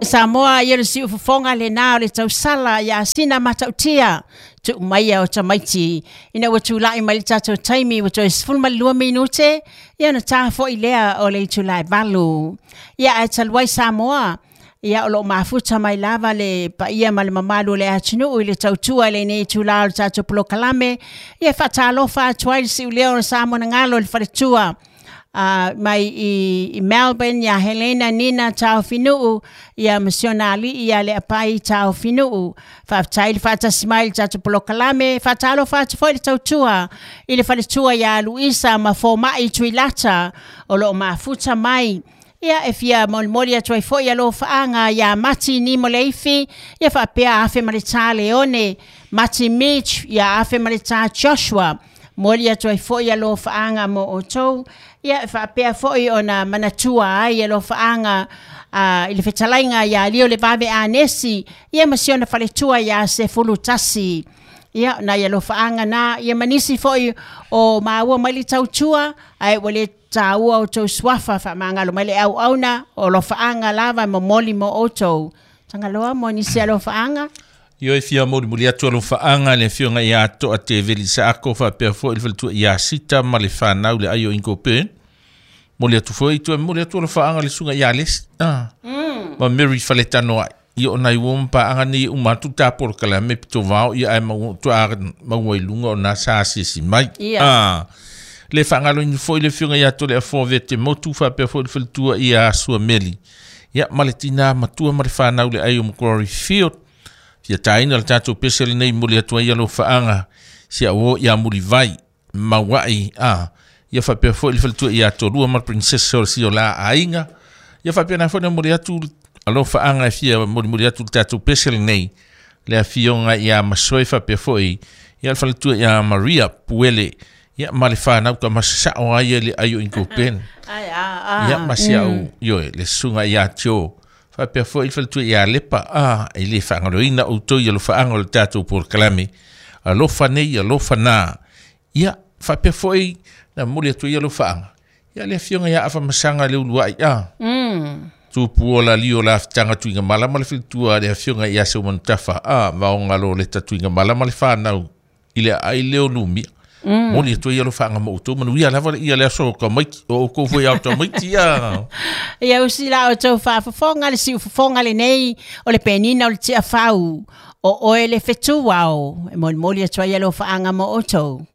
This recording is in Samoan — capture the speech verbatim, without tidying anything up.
Samoa ia le siufofoga lenā o le tausala ia sina matautia tuu maia o tamaiti ina ua tula'i mai le tatou taimi ua toe sefulu ma le lua minute ia ona ta fo'i lea o le itulā e valu. Ia ae talu ai Samoa, ia o loo mafuta mai lava le paia ma le mamalu o le atunuu i le tautua i lenei itulā o le tatou polokalame. Ia faatalofa atu ai le siuleo o le Samoa na galo i le faletua uh, mai i, i Melbourne ia Helena Nina Taofinuu ia ma si ona alii ia Leapai Taofinuu. Faafetai le faatasi mai i le tatou polokalame. Faatalofa atu foi le tautua i le faletua ia Luisa ma Foma'i Tuilata o loo mafuta mai. Ia e fia molimoli atu ai foi alofaaga ia Mati Nimo Leifi ia faapea Afe ma le Tā Leone, Mati Mitch ia Afe ma le Tā Joshua. Moli atu ai foi alofaaga mo outou. Ia e faapea foi ona manatua ai alofaaga uh, i le fetalaiga ia Lio le Vave Anesi ia ma si ona faletua ia Sefulu Tasi. Ia nai alofaaga na ia manisi foi o maua mai le tautua ae ua le taua outou suafa faamagalo mai le auauna o alofaaga lava momoli mo outou. Tagaloa mo nisi alofaaga. Io e fia molimoli atu alofaaga le afioga ia To'a Teveli Saako faapea foi le faletua ia Sita ma le fanau le ai o Ingopen. Moli atu foi tu moli atu alofaaga le susuga ia Lesi ah. Mm. Ma Mary Faletanoai. Ia o nai uo ma paaga nei uma atu ta polokalame pitovao ia ae mau tu a maua i luga o nā sa asiasi mai. Ia. Ah. Le faagaloina foi le afioga ia Tole Afo Vete Motu faapea foi le faletua ia Suameli. Ia ma le tinā matua ma le fanau le ai o Macquarie Field. Fia taina le tatou pese lenei moli atu ai alofaaga si au ia Mulivai Mauai a ia faapea foi le faletua ia Tolua ma le princess o le sio la aiga. Ia faapea na foi na moli atu alofaaga e fia molimoli atu le tatou pese lenei le afioga ia Masoe faapea foi ia le faletua ia Maria Puele ia ma le fanau ka masasao ai le ai o Ingopen. Ai a a. Ia ma si au ioe le susuga ia Tio faapea foi le faletua ia Lepa a e le faagaloina outou i alofaaga o le tatou polokalame alofa nei alofa na. Ia faapea foi na momoli atu ai alofaaga ia le afioga ia Afamasaga le Uluai a. Mm. Tupu o la lio la fitaga tuiga malama le faletua le afioga ia Seumanutafa a vaoga lo le tatuiga malama le fanau i le ai leo lumia. Mm. Moli atu ai alofaaga mo outou manuia lava le ia le aso o ka maiti o oukou foi au tamaiti ia. Ia usi la outou faafofoga le siufofoga lenei o le penina o le tiafau o oe le fetuao e molimoli atu ai alofaaga mo outou.